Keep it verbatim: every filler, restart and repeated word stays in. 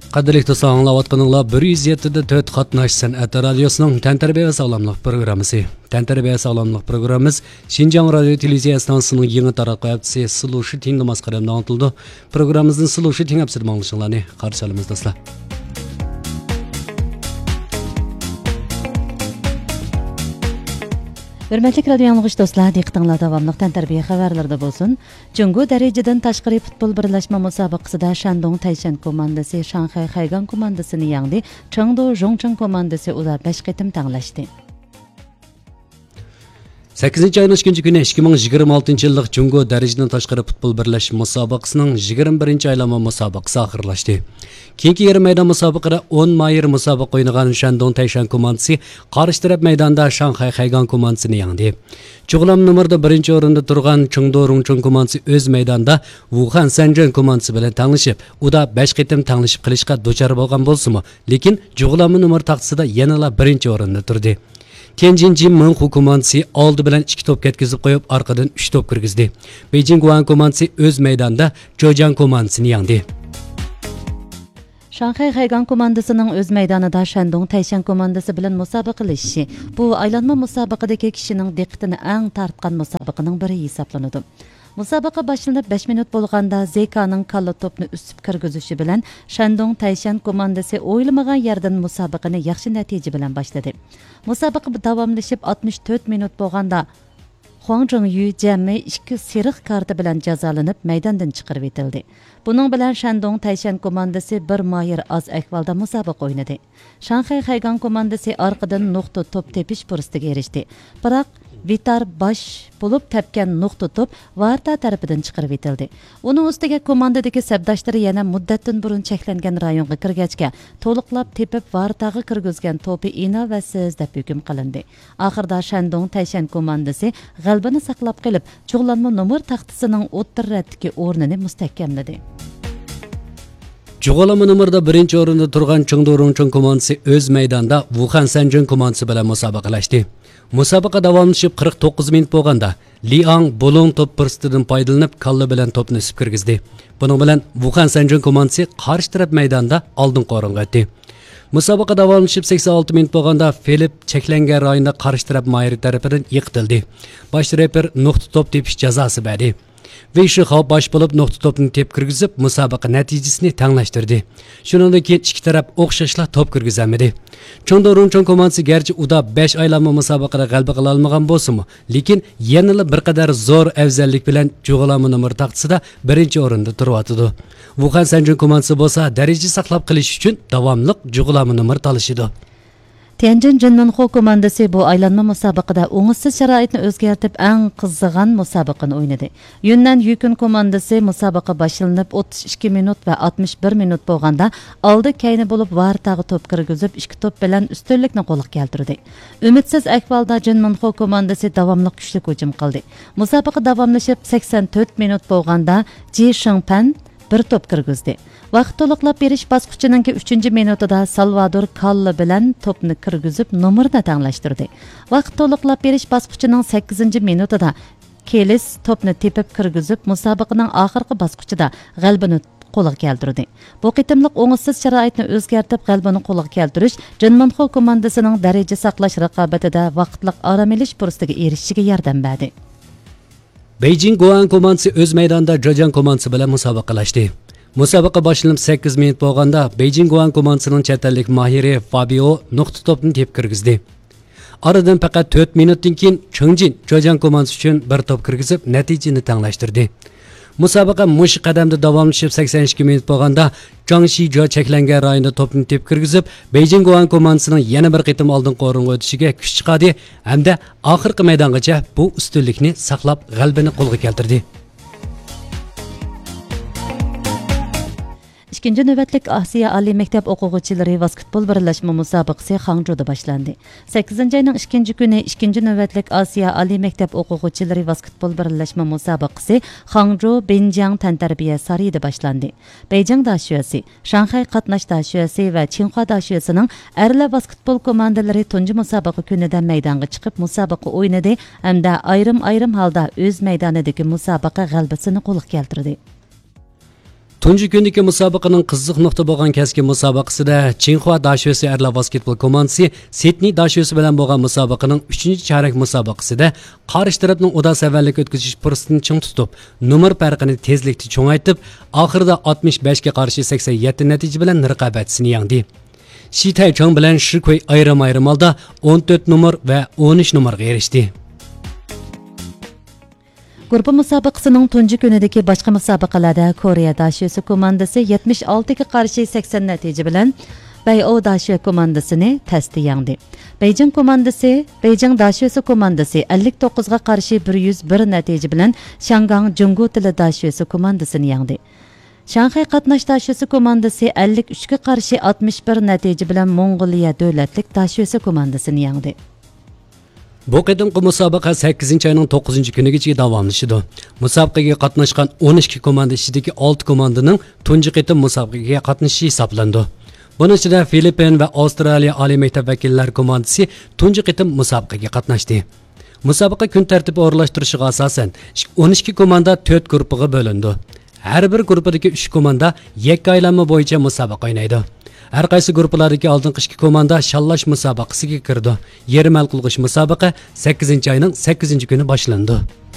قەدىرلىك دوستلار، ئاڭلاۋاتقىنىڭلار بىر يۈز يەتتە دە تۆت قاتناش سەنئەت رادىيوسىنىڭ تەنتەربىيە ۋە ساغلاملىق پروگراممىسى. تەنتەربىيە ساغلاملىق پروگراممىمىز شىنجاڭ رادىيو تېلېۋىزىيە ئىستانسىسىنىڭ يېڭى تاراتقۇ ھەپتىسى سلۇشىتىڭدا ماس قەدەمدە ئاڭلىتىلىدۇ. پروگراممىمىزنى سلۇشىتىڭ ھەپتىسىدە ئاڭلىشىڭلارنى قارشى ئالىمىز دوستلار. ھۆرمەتلىك رادىيو ئاڭلىغۇچى دوستلار، دىققىتىڭلار داۋاملىق تەنتەربىيە خەۋەرلىرىدە بولسۇن. جۇڭگو دەرىجىدىن تاشقىرى پۇتبول بىرلەشمە مۇسابىقىسىدە شەندۇڭ تەيشەن كوماندىسى شاڭخەي خەيگاڭ كوماندىسىنى يەڭدى، چېڭدۇ ژۇڭچىڭ كوماندىسى ئۇدا بەش قېتىم تەڭلەشتى. سەككىزىنچى ئاينىڭ ئىككىنچى كۈنى ئىككى مىڭ يىگىرمە ئالتىنچى يىللىق جۇڭگو دەرىجىدىن تاشقىرى پۇتبول بىرلەشمە مۇسابىقىسىنىڭ يىگىرمە بىرىنچى ئايلانما مۇسابىقىسى ئاخىرلاشتى. كېيىنكى يېرىم مەيدان مۇسابىقىدە ئون ماھىر مۇسابىقە ئوينىغان شەندۇڭ تەيشەن كوماندىسى قارشى تەرەپ مەيداندا شاڭخەي خەيگاڭ كوماندىسىنى يەڭدى. جۇغلانما نومۇردا بىرىنچى ئورۇندا تۇرغان چېڭدۇ رۇڭچۇڭ كوماندىسى ئۆز مەيدانىدا ۋۇخەن سەنجۈەن كوماندىسى بىلەن تەڭلىشىپ، ئۇدا بەش قېتىم تەڭلىشىپ قېلىشقا دۇچار بولغان بولسىمۇ، لېكىن جۇغلانما نومۇر تاختىسىدا يەنىلا بىرىنچى ئورۇندا تۇردى. تيەنجىن جىن مىڭخۇ كوماندىسى ئالدى بىلەن ئىككى توپ كەتكۈزۈپ قويۇپ، ئارقىدىن ئۈچ توپ كىرگۈزدى. بېيجىڭ گۇئەن كوماندىسى ئۆز مەيدانىدا جوجياڭ كوماندىسىنى يەڭدى. شاڭخەي خەيگاڭ كوماندىسىنىڭ ئۆز مەيدانىدا شەندۇڭ تەيشەن كوماندىسى بىلەن مۇسابىقىلىشىشى بۇ ئايلانما مۇسابىقىدىكى كىشىنىڭ دىققىتىنى ئەڭ تارتقان مۇسابىقىنىڭ بىرى ھېسابلىنىدۇ. مۇسابىقە باشلىنىپ بەش مىنۇت بولغاندا، زېكانىڭ كاللا توپنى ئۈسۈپ كىرگۈزۈشى بىلەن شەندۇڭ تەيشەن كوماندىسى ئويلىمىغان يەردىن مۇسابىقىنى ياخشى نەتىجە بىلەن باشلىدى. مۇسابىقە داۋاملىشىپ ئاتمىش تۆت مىنۇت بولغاندا، خۇاڭ جىڭيۈ جەمئىي ئىككى سېرىق كارتا بىلەن جازالىنىپ، مەيداندىن چىقىرىۋېتىلدى. بۇنىڭ بىلەن شەندۇڭ تەيشەن كوماندىسى بىر ماھىر ئاز ئەھۋالدا مۇسابىقە ئوينىدى. شاڭخەي خەيگاڭ كوماندىسى ئارقىدىن نۇقتا توپ تېپىش پۇرسىتىگە ئېرىشتى. بىراق ۋىتار باش بولۇپ تەپكەن نۇقتا توپ ۋارتا تەرىپىدىن چىقىرىۋېتىلدى. ئۇنىڭ ئۈستىگە كوماندىدىكى سەپداشلىرى يەنە مۇددەتتىن بۇرۇن چەكلەنگەن رايونغا كىرگەچكە، تولۇقلاپ تېپىپ ۋارتاغا كىرگۈزگەن توپى ئىناۋەتسىز دەپ ھۆكۈم قىلىندى. ئاخىرىدا شەندۇڭ تەيشەن كوماندىسى غەلىبىنى ساقلاپ قېلىپ، جۇغلانما نومۇر تاختىسىنىڭ ئوتتۇرا رەتتىكى ئورنىنى مۇستەھكەملىدى. جۇغلانما نومۇردا بىرىنچى ئورۇندا تۇرغان چېڭدۇ رۇڭچۇڭ كوماندىسى ئۆز مەيدانىدا ۋۇخەن سەنجۈەن كوماندىسى بىلەن مۇسابىقىلەشتى. مۇسابىقە داۋاملىشىپ قىرىق توققۇز مىنۇت بولغاندا، لىئاڭ بۇلۇڭ توپ پۇرسىتىدىن پايدىلىنىپ، كاللا بىلەن توپنى ئۈسۈپ كىرگۈزدى. بۇنىڭ بىلەن ۋۇخەن سەنجۈەن كوماندىسى قارشى تەرەپ مەيدانىدا ئالدىنقى ئورۇنغا ئۆتتى. مۇسابىقە داۋاملىشىپ سەكسەن ئالتە مىنۇت بولغاندا، فىلىپ چەكلەنگەن رايوندا قارشى تەرەپ ماھىرى تەرىپىدىن يىقىتىلدى. باش رېپېر نۇقتا توپ تېپىش جازاسى بەردى. ۋېي شىخاۋ باش بولۇپ نۇقتا توپنى تېپىپ كىرگۈزۈپ، مۇسابىقە نەتىجىسىنى تەڭلەشتۈردى. شۇنىڭدىن كېيىن ئىككى تەرەپ ئوخشاشلا توپ كىرگۈزەلمىدى. چېڭدۇ رۇڭچۇڭ كوماندىسى گەرچە ئۇدا بەش ئايلانما مۇسابىقىدە غەلىبە قىلالمىغان بولسىمۇ، لېكىن يەنىلا بىر قەدەر زور ئەۋزەللىك بىلەن جۇغلانما نومۇر تاختىسىدا بىرىنچى ئورۇندا تۇرۇۋاتىدۇ. ۋۇخەن سەنجۈەن كوماندىسى بولسا دەرىجە ساقلاپ قېلىش ئۈچۈن داۋاملىق جۇغلانما نومۇر تالىشىدۇ. تيەنجىن جىنمىنخۇ كوماندىسى بۇ ئايلانما مۇسابىقىدە ئوڭۇشسىز شارائىتنى ئۆزگەرتىپ، ئەڭ قىزىغان مۇسابىقىنى ئوينىدى. يۈننەن يۈكۈن كوماندىسى مۇسابىقە باشلىنىپ ئوتتۇز ئىككى مىنۇت ۋە ئاتمىش بىر مىنۇت بولغاندا، ئالدى كەينى بولۇپ ۋارتاغا توپ كىرگۈزۈپ، ئىككى توپ بىلەن ئۈستۈنلۈكنى قولغا كەلتۈردى. ئۈمىدسىز ئەھۋالدا جىنمىنخۇ كوماندىسى داۋاملىق كۈچلۈك ھۇجۇم قىلدى. مۇسابىقە داۋاملىشىپ سەكسەن تۆت مىنۇت بولغاندا، جى شىڭپەن بىر توپ كىرگۈزدى. ۋاقىت تولۇقلاپ بېرىش باسقۇچىنىڭكى ئۈچىنچى مىنۇتىدا سالۋادور كاللا بىلەن توپنى كىرگۈزۈپ، نومۇرنى تەڭلەشتۈردى. ۋاقىت تولۇقلاپ بېرىش باسقۇچىنىڭ سەككىزىنچى مىنۇتىدا كېلىس توپنى تېپىپ كىرگۈزۈپ، مۇسابىقىنىڭ ئاخىرقى باسقۇچىدا غەلىبىنى قولغا كەلتۈردى. بۇ قېتىملىق ئوڭۇشسىز شارائىتنى ئۆزگەرتىپ، غەلىبىنى قولغا كەلتۈرۈش جىنمىنخۇ كوماندىسىنىڭ دەرىجە ساقلاش رىقابىتىدە ۋاقىتلىق ئارام ئېلىش پۇرسىتىگە ئېرىشىشىگە ياردەم بەردى. بېيجىڭ گۇئەن كوماندىسى ئۆز مەيدانىدا جېجياڭ كوماندىسى بىلەن مۇسابىقىلەشتى. مۇسابىقە باشلىنىپ سەككىز مىنۇت بولغاندا، بېيجىڭ گۇئەن كوماندىسىنىڭ چەت ئەللىك ماھىرى فابىئو نۇقتا توپنى تېپىپ كىرگۈزدى. ئارىدىن پەقەت تۆت مىنۇتتىن كېيىن، چېڭجىن جېجياڭ كوماندىسى ئۈچۈن بىر توپ كىرگۈزۈپ، نەتىجىنى تەڭلەشتۈردى. مۇسابىقە مۇشۇ قەدەمدە داۋاملىشىپ سەكسەن ئىككى مىنۇت بولغاندا، جاڭ شىجۇ چەكلەنگەن رايوندا توپنى تېپىپ كىرگۈزۈپ، بېيجىڭ گۇئەن كوماندىسىنىڭ يەنە بىر قېتىم ئالدىنقى ئورۇنغا ئۆتۈشىگە كۈچ چىقاردى ھەمدە ئاخىرقى مەيدانغىچە بۇ ئۈستۈنلۈكنى ساقلاپ، غەلىبىنى قولغا كەلتۈردى. ئىككىنچى نۆۋەتلىك ئاسىيا ئالىي مەكتەپ ئوقۇغۇچىلىرى ۋاسكېتبول بىرلەشمە مۇسابىقىسى خاڭجۇدا باشلاندى. سەككىزىنچى ئاينىڭ ئىككىنچى كۈنى ئىككىنچى نۆۋەتلىك ئاسىيا ئالىي مەكتەپ ئوقۇغۇچىلىرى ۋاسكېتبول بىرلەشمە مۇسابىقىسى خاڭجۇ بىنجياڭ تەنتەربىيە سارىيىدا باشلاندى. بېيجىڭ داشۆسى، شاڭخەي قاتناش داشۆسى ۋە چىڭخۇا داشۆسىنىڭ ئەرلەر ۋاسكېتبول كوماندىلىرى تۇنجى مۇسابىقە كۈنىدە مەيدانغا چىقىپ مۇسابىقە ئوينىدى ھەمدە ئايرىم-ئايرىم ھالدا ئۆز مەيدانىدىكى مۇسابىقە غەلىبىسىنى قولغا كەلتۈردى. تۇنجى كۈندىكى مۇسابىقىنىڭ قىزىق نۇقتا بولغان كەسكىن مۇسابىقىسىدە چىڭخۇا داشۆسى ئەرلەر ۋاسكېتبول كوماندىسى سىدنېي داشۆسى بىلەن بولغان مۇسابىقىنىڭ ئۈچىنچى چارەك مۇسابىقىسىدە قارشى تەرەپنىڭ ئۇدا سەۋەنلىك ئۆتكۈزۈش پۇرسىتىنى چىڭ تۇتۇپ، نومۇر پەرقىنى تېزلىكتە چوڭايتىپ، ئاخىرىدا ئاتمىش بەشكە قارشى سەكسەن يەتتە نەتىجە بىلەن رىقابەتچىسىنى يەڭدى. شى تەيچاڭ بىلەن شى كۇي ئايرىم-ئايرىم ھالدا ئون تۆت نومۇر ۋە ئون ئۈچ نومۇرغا ئېرىشتى. گۇرۇپپا مۇسابىقىسىنىڭ تۇنجى كۈنىدىكى باشقا مۇسابىقىلەردە كورېيە داشۆسى كوماندىسى يەتمىش ئالتىگە قارشى سەكسەن نەتىجە بىلەن بەيئو داشۆ كوماندىسىنى تەستە يەڭدى. بېيجىڭ كوماندىسى، بېيجىڭ داشۆسى كوماندىسى ئەللىك توققۇزغا قارشى بىر يۈز بىر نەتىجە بىلەن شياڭگاڭ جۇڭگو تىلى داشۆسى كوماندىسىنى يەڭدى. شاڭخەي قاتناش داشۆسى كوماندىسى ئەللىك ئۈچكە قارشى ئاتمىش بىر نەتىجە بىلەن موڭغۇلىيە دۆلەتلىك داشۆسى كوماندىسىنى يەڭدى. بۇ قېتىمقى مۇسابىقە سەككىزىنچى ئاينىڭ توققۇزىنچى كۈنىگىچە داۋاملىشىدۇ. مۇسابىقىگە قاتناشقان ئون ئىككى كوماندا ئىچىدىكى ئالتە كوماندىنىڭ تۇنجى قېتىم مۇسابىقىگە قاتنىشىشى ھېسابلىنىدۇ. بۇنىڭ ئىچىدە فىلىپپىن ۋە ئاۋسترالىيە ئالىي مەكتەپ ۋەكىللەر كوماندىسى تۇنجى قېتىم مۇسابىقىگە قاتناشتى. مۇسابىقە كۈن تەرتىپى ئورۇنلاشتۇرۇشىغا ئاساسەن، ئون ئىككى كوماندا تۆت گۇرۇپپىغا بۆلۈنىدۇ. ھەر بىر گۇرۇپپىدىكى ئۈچ كوماندا يەككە ئايلانما بويىچە مۇسابىقە ئوينايدۇ. ھەر قايسى گۇرۇپپىلاردىكى ئالدىنقى ئىككى كوماندا شاللاش مۇسابىقىسىگە كىرىدۇ. يېرىم ھەل قىلغۇچ مۇسابىقە سەككىزىنچى ئاينىڭ سەككىزىنچى كۈنى باشلىنىدۇ.